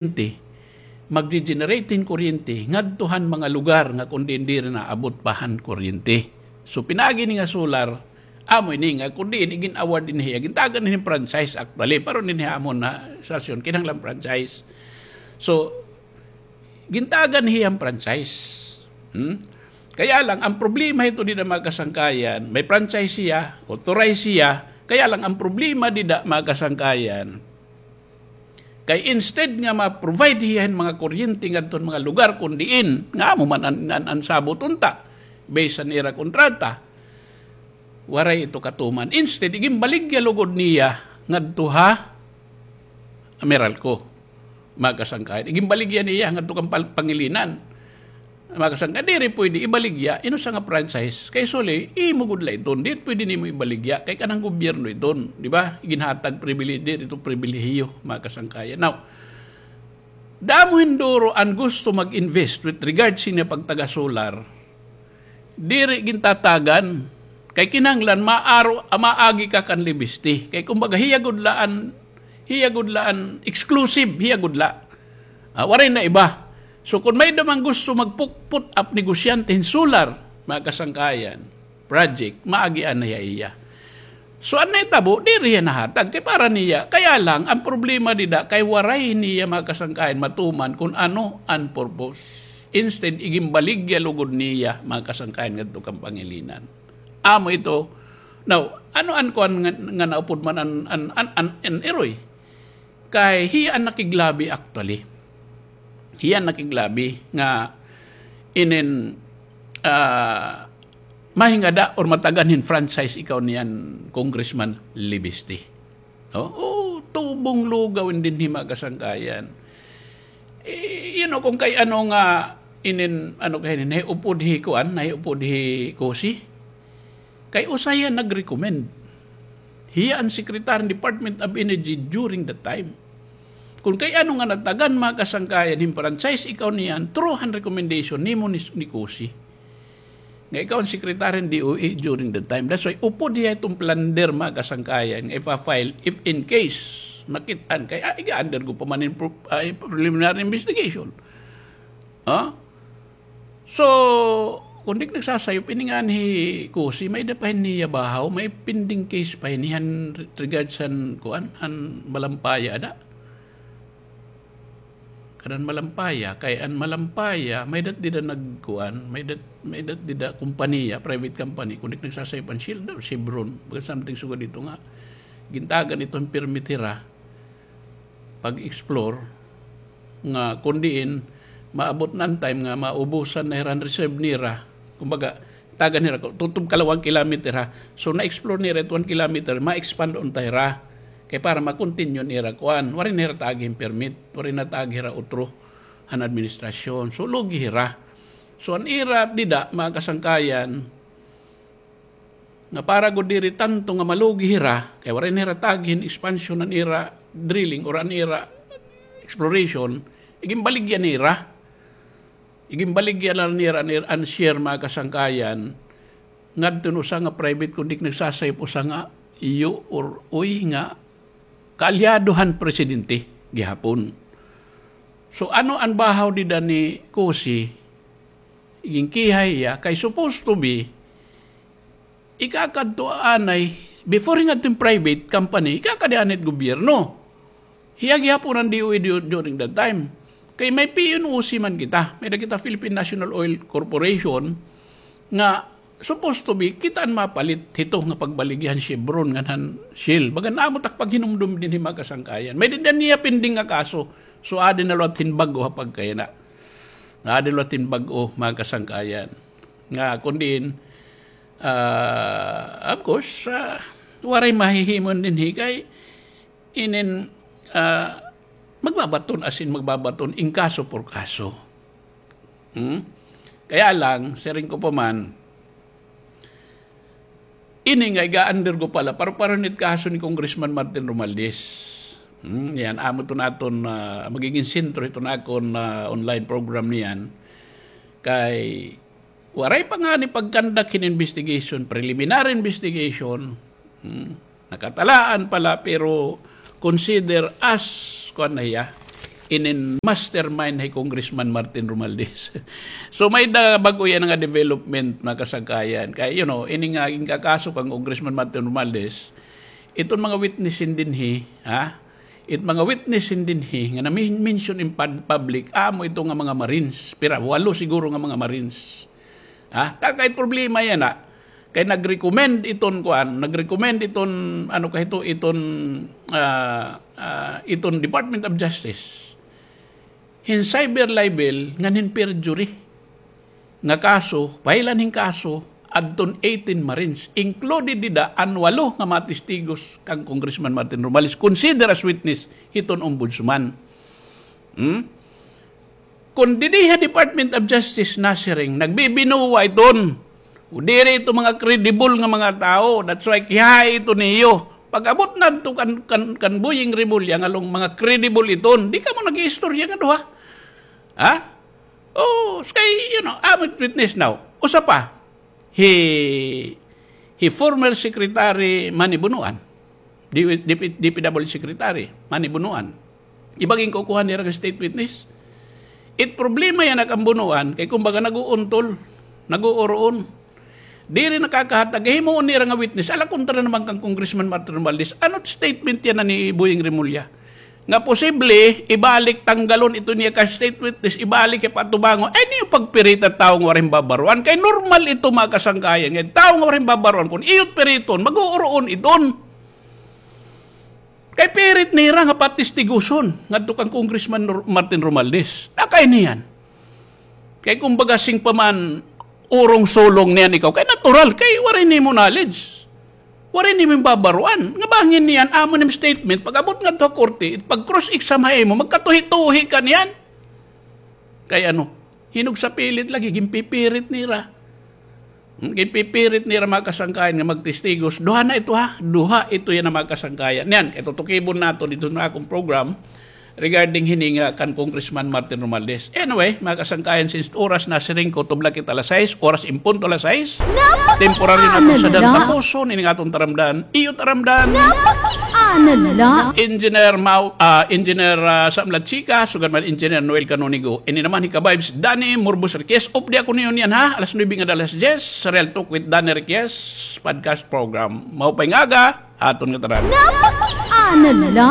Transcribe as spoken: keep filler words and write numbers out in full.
kuryente, magje-generate hin kuryente ngadto han mga lugar nga kon diin diri naabot pa han kuryente. So, pinaagi ini nga solar, amo ini nga kon diin igin-award ini hiya, gintagan ini hin franchise actually, pero ini ha amon nga sitwasyon, kinahanglan franchise. So, gintagan hiya hin franchise. Hmm? Kaya lang, ang problema hito dida, mga kasangkayan, may franchise siya, authorized siya, kaya lang ang problema dida, mga kasangkayan, kay instead nga ma-provide hiya hin mga kuryente ngadto han mga lugar kon diin, nga amo man an, an, an sabot unta, based han ira kontrata, waray ito katuman. Instead, iginbaligya lugod niya ngadto ha Meralco, mga kasangkayan. Iginbaligya niya ngadto kan pal-, Pangilinan. Mga kasangkayan, diri pwede ibaligya, inusa nga franchise. Kay suli, imo gud la iton. Diri pwede nimo ibaligya. Kay kanang gobyerno iton, di ba? Iginhatag pribilehiyo, diri ito pribilehiyo, mga kasangkayan. Now, damo hin duro an gusto mag-invest with regards hini pagtaga-solar. Diri gintatagan. Kay kinahanglan maaro, maagi ka kan Libiste. Kay kumbaga, hiya gud la an, hiya gud la an exclusive, hiya gud la. Ah, waray na iba. So, kon may-ada man gusto mag-put up negosyante hin solar, mga kasangkayan, project, maagi anay ha iya. So, an nahitabo, diri hiya nahatag, kay para niya. Kaya lang, ang problema dida, kay waray niya, mga kasangkayan, matuman kon ano an purpose. Instead, iginbaligya lugod niya, mga kasangkayan, ngadto kan Pangilinan. Amo ito. Now, ano an kuan nga, nga naupod man an, an, an, an, an iroy? Kay hiya an nakiglabi actually. Hiya an nakiglabi nga inin, ah, mahingada or matagan hin franchise ikaw niyan, Congressman Libiste. No? Oh, tubong lugaw in dinhi, mga kasangkayan. Eh, you know, kung kay ano nga inin, ano kay inin, nahiupod hi kuan, nahiupod hi Cossy. Kay usa hiya nag-recommend. Hiya an secretary in Department of Energy during that time. Kung kay ano nga natagan, mga kasangkayan, hin franchise ikaw niyan, through han recommendation nimo ni, ni Cossy. Nga ikaw an secretary in D O E during that time. That's why upod hiya iton plunder, mga kasangkayan, nga ipa-file if in case makit-an kay, ah, iga-undergo pa man in pro-, ah, preliminary investigation. Ah? So, kon di ak nagsasayop, ini ngan hi Cossy, may-ada pa hini hiya bahaw, may pending case pa hini han regards han kuan, han Malampaya ada. Kanan Malampaya, kay an Malampaya, may-ada dida nagkuan, may-ada, may-ada dida kompanya, private company, kon di ak nagsasayop an Shell, Chevron, baga something sugad dito nga, gintagan ito hin permit hira pag-explore nga kon diin maabot na an time nga maubusan na hira an reserve nira. Kumbaga, tagan hira, tutob ka la one kilometer ha. So, na-explore nira it one kilometer, ma-expand unta hira. Kay para ma-continue nira kuan, waray na hira taagi hin permit, waray na taagi hira utro han administrasyon. So, lugi hira. So, an ira dida, mga kasangkayan, nga para gud diri tanto nga malugi hira, kay waray na hira taagi hin expansion an ira drilling or an ira exploration, iginbaligya nira. Iginbaligya la nira an ira, an share, mga kasangkayan, ngadto hin usa nga private, kon di ak nagsasayop, usa nga iyo or uy nga kaalyado han presidente gihapon. So, ano an bahaw dida ni Cossy? Ginkihay hiya, kay supposed to be, ikakadto anay, before ngadto hin private company, ikakadi anay it gobyerno. Hiya gihapon an D O E du-, during that time. Kay may P N O C man kita, may-ada kita Philippine National Oil Corporation, nga supposed to be, kita an mapalit hito nga pagbaligya han Chevron ngan han Shell. Baga naamo tak paghinumdom dinhi, mga kasangkayan. May-ada dida niya pending nga kaso. So, adi na liwat hin bag-o ha pagkayana. Adi na liwat hin bag-o, mga kasangkayan. Nga, kon diin, ah, of course, ah, waray mahihimo dinhi kay inin, ah, magbabaton, as in, magbabaton in kaso por kaso. Hmm? Kaya lang, siring ko pa man, ini nga iga-undergo pa la, pareho-pareho hit kaso ni Congressman Martin Romualdez. Hmm, yan, amo iton aton, ah, magigin sentro hiton akon, ah, online program niyan. Kay, waray pa ngani pag-conduct hin investigation, preliminary investigation. Hmm. Nakatalaan pa la, pero consider as, kuan na hiya, inin mastermind hi Congressman Martin Romualdez. So, may-ada bag-o yana nga development, mga kasangkayan. Kay, you know, ini nga ginkakaso kan Congressman Martin Romualdez, iton mga witness in dinhi, ha? It mga witness in dinhi nga na-mention in pub-, public, amo ito nga mga Marines. Pira, walo siguro nga mga Marines. Ha? Ta kay problema yana. Kay nag-recommend iton kuan, nag-recommend iton, ano ka ito, iton, ah, ah, iton Department of Justice hin cyber libel ngan hin perjury nga kaso, pahilan hin kaso, adton eighteen Marines, included dida an walo nga mga testigos kan Congressman Martin Romualdez, consider as witness hiton ombudsman. Hmm? Kon didi ha Department of Justice nasiring, nagbibinuwa iton. O diri ito mga credible nga mga tawo. That's why kiyahay ito niyo. Pag-abot nadto kan, kan, kan Boying Remulla nga along mga credible iton, di kamo nag-iistorya nga duha. Ha? Oh, kay, you know, amo it witness now. Usa pa, hi, hi former Secretary Manny Bonoan. D-, D P W Secretary, Manny Bonoan. Iba ginkukuha nira nga state witness. It problema yana kan Bonoan, kay kumbaga nag-uuntol, nag-uuroon. Diri nakakahatag, himuon nira nga witness. Ala, kontra naman kan Congressman Martin Romualdez. Ano statement yana ni Boying Remulla? Nga posible, ibalik, tanggalon ito niya ka state witness, ibalik kay patubangon. Ay, niyo pagpirita tawo nga waray babaroan. Kay normal ito, mga kasangkayan. Nga tawo nga waray babaroan, kung iyot piriton, mag-uuroon iton. Kay pirit nira nga patistiguson ngadto kan Congressman Nor-, Martin Romualdez. Takay niyan. Kay kumbaga sing pa man urong sulong niyan ikaw. Kay natural, kay waray nimo knowledge. Waray nimo babaroan. Nga bangin niyan, amo nim statement, pag-abot ngadto ha korte, pag-cross-exam ha imo, magkatuhi-tuhi ka niyan. Kay ano, hinog sa pilit lagi, ginpipirit nira. Hmm, ginpipirit nira mga kasangkayan nga magtestigos. Duha na ito ha, duha ito yana mga kasangkayan. Niyan, kay tutukibon naton didto ha akon program regarding hini nga kan Congressman Martin Romualdez. Anyway, mga kasangkayan, since oras nasiring ko, tubla kita alas sais, oras in punto alas sais. Temporary na ito sa dan tapuson, ini nga aton taramdan. Iyo taramdan. Engineer Mau-, ah, Engineer, ah, Sam Lachika, sugad man Engineer Noel Canonigo. Ini naman hi ka-vibes Danny Murbos Riquez. Updi ako niyo niyan ha, alas nuebe ngada alas diyes, sa Real Talk with Danny Riquez podcast program. Maupay nga aga, aton nga tanan. Napakiana la.